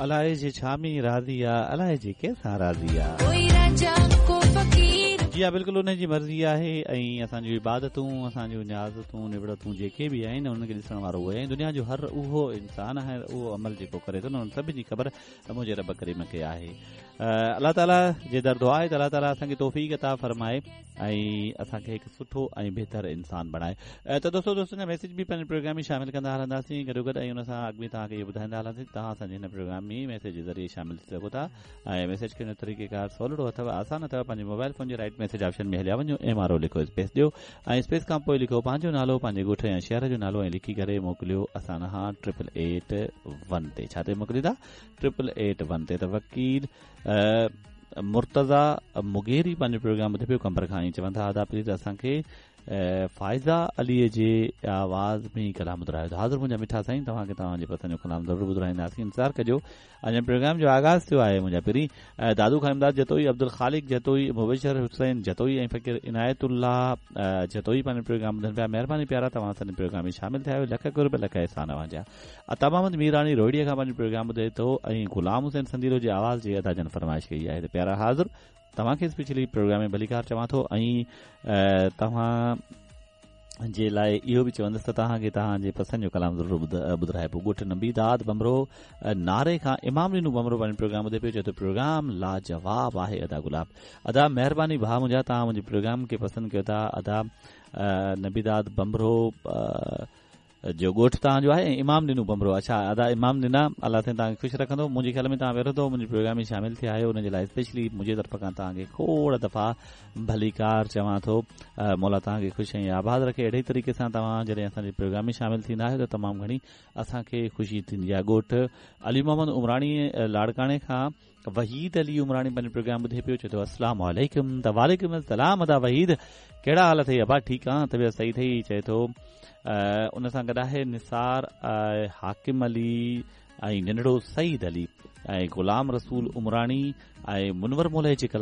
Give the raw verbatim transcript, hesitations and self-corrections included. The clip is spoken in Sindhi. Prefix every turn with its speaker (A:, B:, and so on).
A: الائي جي ڇا ۾ راضي آ، الائي جي ڪنهن سان راضي آ.
B: ڪوئي راجا ڪو فقير.
A: جي ها، بلڪل ان جي مرضي آهي ۽ اسان جون عبادتون، اسان جون نيازتون، نوڙتون جيڪي به آهن، انهن کي ڏسڻ وارو اهو آهي. دنيا جو هر اهو انسان آهي، اهو عمل جيڪو ڪري ٿو نه، انهن سڀني جي خبر منهنجي رب ڪريم کي آهي. الله تعاليٰ جي در دعا آهي ته الله تعاليٰ اسان کي توفيق عطا فرمائي ۽ اسان کي هڪ سٺو ۽ بهتر انسان بڻائي. ته دوستو، دوستن جا ميسيج به پنهنجي پروگرام ۾ شامل ڪندا هلنداسين گڏو گڏ ۽ ان سان اڳ ۾ توهان کي اهو ٻڌائيندا هلنداسين، توهان اسان جي هن پروگرام ۾ ميسيج جي ذريعي شامل ٿي سگهو ٿا ۽ ميسيج ڪرڻ جو طريقيڪار سولڙو اٿو، آسان اٿو. پنهنجي موبائل فون جي رائٽ ميسيج آپشن ۾ هليا وڃو، ايم آر او لکو، اسپيس ڏيو ۽ اسپيس کان پوءِ لکو پنهنجو نالو، پنهنجي ڳوٺ يا شهر جو نالو ۽ لکي ڪري موڪليو اسان کان ٽرپل ايٽ ون تي. ڇا تي موڪليندا؟ ٽرپل ايٽ ون تي. ته وڪيل مرتضيٰ مغيري پنهنجو پروگرام ٻڌي پيو قمبر کان ۽ چون ٿا، ادا پليز اسان کي فائزه عليءَ جي آواز ۾ ڪلام ٻڌايو. ته حاضر منهنجا مٺا سائين، توهان کي توهان جي پسند جو ڪلام ضرور ٻڌائينداسين، انتظار ڪجو، اڃا پروگرام جو آغاز ٿيو آهي منهنجا پرين. دادو کان امداد جتوئي، عبدل خالق جتوئي، مبشر حسين جتوئي ۽ فقير عنايت الله جتوئي پنهنجو پروگرام ٻڌن پيا. مهرباني پيارا، توهان اسان جي پروگرام ۾ شامل ٿيا آهيو، لک قرب لک احسان اوهان جا. عطا محمد ميراڻي روهڙيءَ کان پنهنجو پروگرام ٻڌي ٿو ۽ غلام حسين سنديلو جي آواز جي ادا جن فرمائش ڪئي آهي. ته پيارا حاضر، توهان کي اسپيشلي پروگرام ۾ ڀليڪار چوان ٿو ۽ توهان جي لاءِ اهو به چوندس ته توهان کي توهان جي پسند جو ڪلام ضرور ٻڌرائبو. ڳوٺ نبي داد بمرو ناري کان امام ڏنو بمرو پنهنجو پروگرام ٻڌي پيو، چئي ٿو پروگرام لاجواب آهي ادا گلاب. ادا مهرباني ڀاءُ منهنجا، توهان منهنجي پروگرام کي پسند ڪيو ٿا. ادا نبي داد بمرو جو ڳوٺ توهان جو آهي ۽ امام ڏنو بمرو. اڇا ادا امام ڏنا، الله سائين توهان کي خوش رکندو. منهنجي خيال ۾ توهان پهريون دفعو منهنجي پروگرام ۾ شامل ٿيا آهيو، ان جي لاءِ اسپيشلي منهنجي طرف کان توهان کي کوڙ دفعا ڀليڪار چوان ٿو. مولا توهان کي خوش ۽ آباد رکي. اهڙي طريقي سان توهان جڏهن اسان جي پروگرام ۾ شامل ٿيندا آهيو ته تمام گهڻي اسان کي خوشي ٿيندي آهي. ڳوٺ علي محمد عمراڻي لاڙڪاڻي کان وحيد علي عمراڻي پنهنجو پروگرام ٻڌي پيو، چئي ٿو السلام عليڪم. ته وعليڪم السلام ادا وحيد، ڪهڙا حال اٿئي ابا؟ ٺيڪ آهي، طبيعت صحيح اٿئي؟ چئي ٿو. ان سان گڏ آهي نثار حاڪم علي ۽ ننڍڙو سعيد علي ۽ غلام رسول عمراڻي ۽ منور مولائي جي ڪلام.